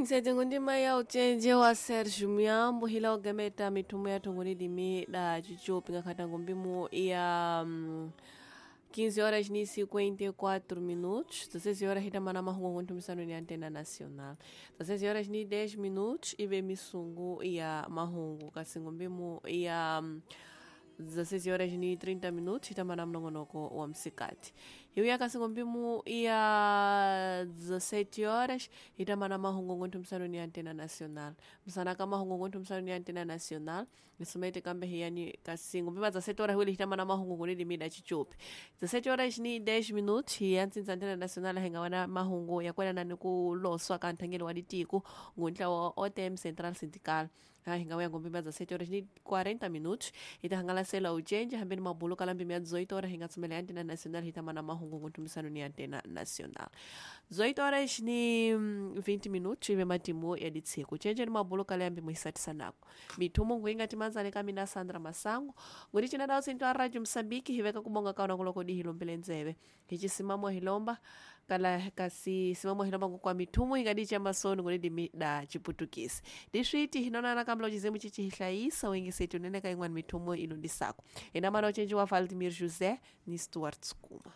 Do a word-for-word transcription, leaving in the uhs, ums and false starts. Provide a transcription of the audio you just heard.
Nsetingo ya ucenje wa Sergio Miambo hila ogemeta mitumo ya tongolidimi da chichopi ngakhatango mbimu ya mm, quinze horas e cinquenta e quatro minutos, dezesseis horas hitamana mahungu ntumisano ni Antena Nacional, dezesseis horas e dez minutos ive misungu ya mahungu kasingo mbimu ya mm, dezesseis horas e trinta minutos hitamana mnongonoko wa msikati iuya kasingo mbimu ya dezessete horas hitamana mahungu ntumisano ni Antena Nacional msanaka mahungu ntumisano ni Antena Nacional nisomete kambe hiyani kasingo mbima dezessete horas wili hitamana mahungu ni limida chichupi dezessete horas ni dez minutos hiyantsintsa Antena Nacional hengawana mahungu yakwena nani kuloswa kanthangelo wa ditiku nguntla wa O T M Central Sindical hingaweya ngombima dezessete horas ni quarenta minutos itahangalasela ucenje hambeni mabulu kala mbima ya dezoito horas hingatsumela Antena Nacional hitamana mahungu nguntumisano ni Antena Nacional dezoito horas ni vinte minutos ive matimu ya ditsiku chenje ni mabulu kala yambi muisatisanako mithumu nguingati manzale kamina Sandra Masango nguri cina dawo sinto a Radio Msambiki hiveka kubonga kaona kuloko dihilombele nzeve hichisimamo hilomba kala kasi simamo hilomba ngukwa mithumu ingadi chamasoni nguri dimi da chiputukisi diswiti hinonana kambla uchizimu chichihlayisa wengisetu nene kaingwani mithumu ilundisako ina mana uchenji wa Valdemir José ni Stuart Skuma.